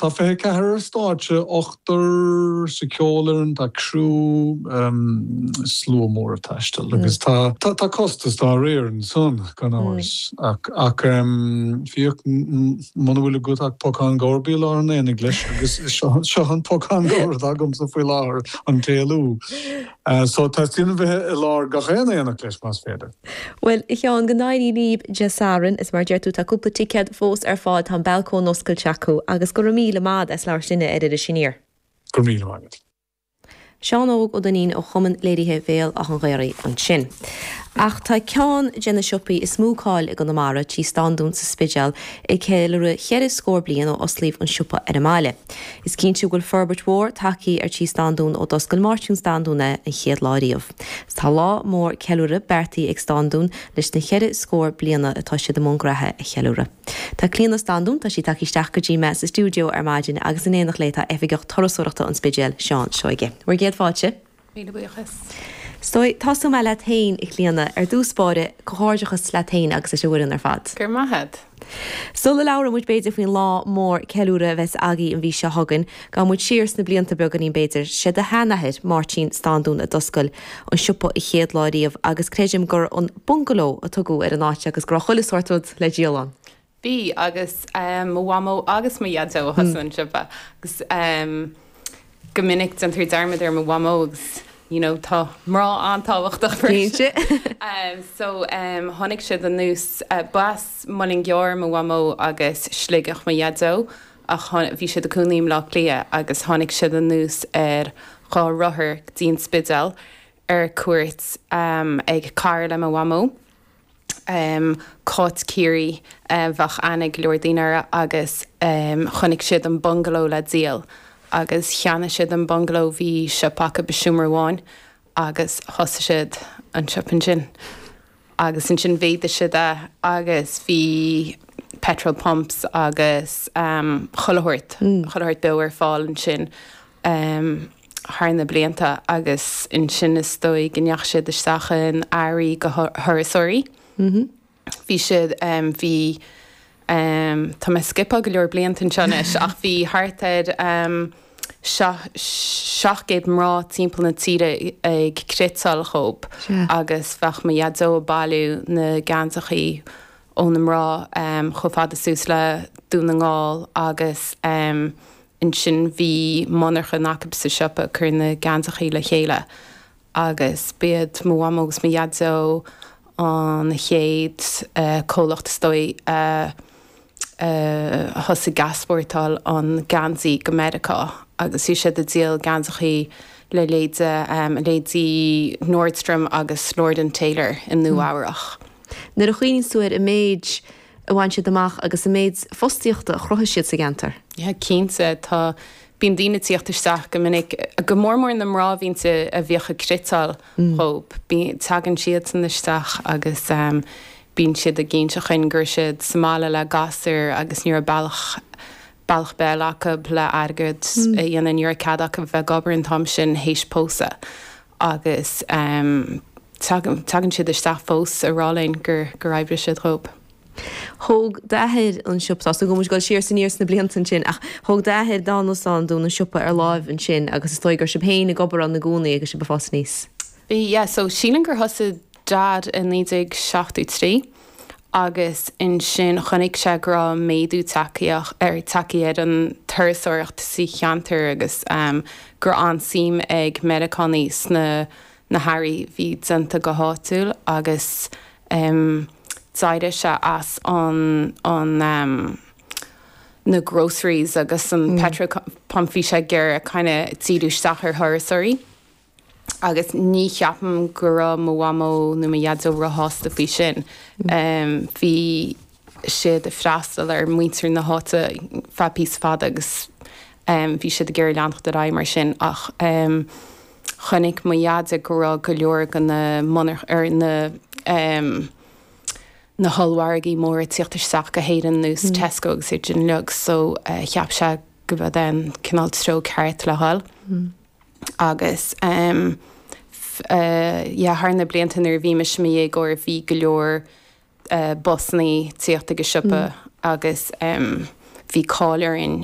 Tá 24 ar stáitse, ochtar sa cheolfhoireann, tá criú, slua mór ag taisteal agus tá tá costas dá réir ansan, gan amhras. Ach ach fiach muna bhfuil agat ach pocán gabhair bí i lár an aonaigh leis agus seo an pocán gabhair atá agamsa faoi láthair, an t-éalú. So teastaíonn a bheith i lár gach aon aonach leis más féidir. Bhuel, a Sheáin, go n-éirí libh Dé Sathairn, is mar a deir tú, tá cúpla ticéad fós ar fáil, tá an balcóin oscailte acu, agus go raibh míle maith agat as labhairt linne ar Iris Aniar. Go raibh míle maith agat. Seán Óg Ó Duinnín ó Chumann Léirithe Bhéal Átha'n Ghaorthaidh ansin. Ach tá ceann de na siopaí is mó cáil i gConamara, Tí Standún sa Spidéal, ag ceiliúradh cheithre scór bliain ó osclaíodh an siopa ar an mbaile. Is cinnte go bhfuil forbairt mhór tagtha ar Tí Standún ó d'oscail Máirtín Standún é an chéad lá riamh. Tá lá mór ceiliúrtha beartaithe ag Standún leis na cheithre scór bliana atá siad i mbun graithe a cheiliúradh. Tá Clíona Standún, tá sí tagtha isteach go dtí mé sa stiúideo ar maidin agus in éineacht léi tá Oifigeach Turasóireachta an Spidéil, Seán Seoige. Bhur gcéad fáilte. Míle buíochas. Is dóigh, tosóidh mé leat féin, a Chlíona. Ar dtús báire, comhghairdeachas leat féin agus leis an bhfoireann ar fad. Go raibh maith agat. Sula labhraíonn muid b'fhéidir faoin lá mór ceiliúrtha a bheas agaibh an mhí seo chugainn, gabhfaidh muid siar sna blianta beagáinín b'fhéidir. Sé do sheanathair, Máirtín Standún a d'oscail an siopa an chéad lá riamh agus creidim gur an Bungaló a tugadh ar an áit agus go raibh chuile sórt rud le díol ann. Bhí, agus mo mhamó agus mo dhaideo a thosaigh an siopa agus go minic déantar dearmad ar mo mhamó agus you know tá mná an-tábhachtach freisin. So tháinig siad anuas, b'as Muileann gCearr mo mhamó agus Sligeach mo dhaideo ach bhí siad ag cónaí i mBleá Cliath agus tháinig siad anuas ar dhá rothar go dtí an Spidéal ar cuairt ag cara le mo mhamó. Cáit Ciarraí, bheadh aithne ag go leor daoine uirthi agus chonaic siad an bungaló le díol agus cheannaigh siad an bungaló, bhí siopa acu i seomra amháin agus thosaigh siad an siopa ansin agus ansin mhéadaigh siad é agus bhí petrol pumps agus chuile shórt, chuile shórt beo ar fáil ansin. thar na blianta agus ansin is dóigh go ndeachaigh siad isteach in earraí go thurasóirí. Bhí siad, bhí, tá mé ag scipeáil go leor blianta anseo anois ach bhí thart ar 700 mná timpeall na tíre ag cniotáil dhóibh agus bheadh mo dhaideo ag bailiú na geansachaí ó na mná chomh fada suas le Dún na nGall agus Ansin bhí monarchan acu sa siopa ag cur na geansachaí le chéile agus b'iad mo mhamó agus mo dhaideo an chéad comhlacht is dóigh a thosaigh ag easpórtáil an geansaí go Meiriceá agus bhí siad ag díol geansachaí le leithéide leithéidí Nordstrom agus Lord and Taylor i Nua Eabhrach. Nuair a chuimhníonn tú ar an méid a bhain siad amach agus an méid fostaíochta a chruthaigh siad sa gceantar. Yeah, cinnte, tá, bíonn daoine ag tíocht isteach go minic, go mór mór na mná a bhíonn, a bhíodh ag cniotáil dhóib, bíonn, tagann siadsan isteach agus bíonn siad ag inse chugainn go raibh siad sa mbaile le gasúir agus ní raibh bealach, bealach béil acu le airgead a dhéanamh, ní raibh cead acu bheith ag obair an t-am sin théis pósadh agus tagann, tagann siad isteach fós ag rá linn gur, gur oibrigh siad dhóib. Thóg d'athair an siopa, tá súil agam go bhfuil muid ag dul siar is aniar sna blianta ansin, ach thóg d'athair, Dónal Standún, an siopa ar láimh ansin agus is dóigh go raibh sibh féin ag obair ann i gcónaí agus sibh ag fás aníos. Bhí, yeah, so sílim gur thosaigh Dad i 1973 agus ansin chonaic sé go raibh méadú tagtha ar tagtha ar an turasóireacht sa cheantar agus go raibh an-suim ag Meiriceánaigh sna na hearraí bhí déanta go háitiúil agus d'éirigh sé as an an na groceries agus an petrol pump bhí sé ag iarraidh kind of díriú isteach ar thurasóirí agus ní cheapaim go raibh mo mhamó nó mo dhaideo róshásta faoi sin. Bhí siad ag freastal ar muintir na háite feadh píosa fada agus bhí siad ag iarraidh leanacht ar aghaidh mar sin ach chonaic mo dhaide go raibh go leor de na monar ar na na hollmhargaí móra ag tíocht isteach go hÉirinn ar nós Tesco agus iad sin uilig so cheap sé go mb'é an cineál treo ceart le dhul agus yeah thar na blianta nuair a bhí mise i mo dhéagóir bhí go leor busannaí ag tíocht ag an siopa agus bhí cáil orainn.